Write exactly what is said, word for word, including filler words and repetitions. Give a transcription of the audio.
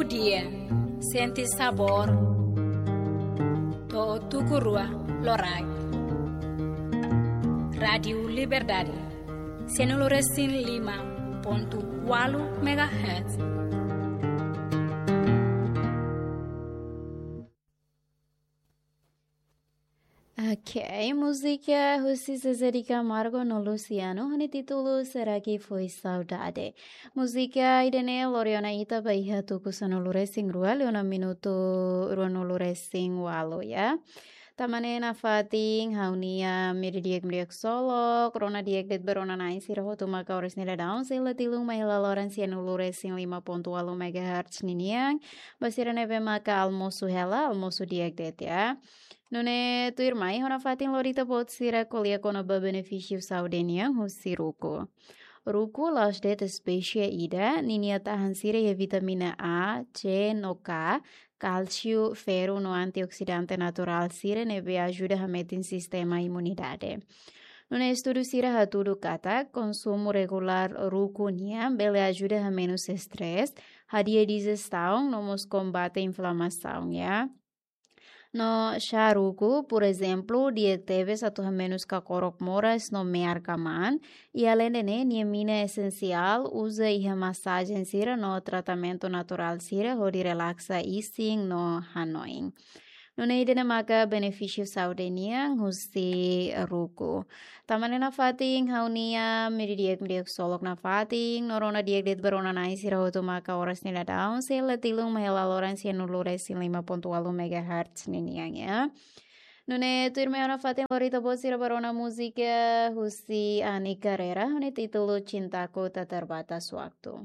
Dia, sente sabór. To'o tuku rua loraik. Rádiu Liberdade, sianulu resin lima pontu ualu megahertz. Ok, múzika husi Zezé de Camargo no Luciano, ho nia títulu Será que foi saudade. Múzika ida-ne'e lori ona ita ba iha tuku sanulu resin rua, liu ona minutu ruanulu resin ualu, ya. Tanba ne'e nafatin ha'u-nia miri di'ak miri di'ak solok, rona di'ak de'it ba rona na'in sira hotu maka oras ne'e daudaun sei la tilun mai hela loron sianulu resin lima pontu ualu megahertz ninian, ba sira ne'ebé maka almosu hela, almosu di'ak de'it, ya. Nune'e tuirmai ha'u nafatin lori ita-boot sira ko'alia kona-ba benefísiu saúde nian husi ruku. Ruku la'ós de'it espésia ida, ninia tahan sira iha vitamina A, C no K, kálsiu, ferru no antioksidante naturál sira ne'ebé ajuda hametin sistema imunidade. Nune'e estudu sira hatudu katak konsumu regulár ruku nian bele ajuda hamenus estrés, hadi'a dijestaun no mós kombate inflamasaun, ya. No xá ruku, por ezemplu, di'ak tebes atu hamenus kakorok moras no me'ar kamaan, i aleinde ne'e nia mina esensiál uza iha masajen sira no tratamentu naturál sira hodi relaksa isin no hanoin. Nune'e ida-ne'e maka benefísiu saúde nian husi ruku. Tanba ne'e nafatin ha'u-nia miri di'ak miri di'ak solok nafatin, no rona di'ak de'it ba rona na'in sira hotu maka oras ne'e daudaun sei la tilun mai hela loron sianulu resin lima pontu ualu megahertz ninian, ya. Nune'e tuirmai ha'u nafatin lori ita-boot sira ba rona múzika husi Ani Carreira, ho nia títulu Cintaku Tak Terbatas Waktu.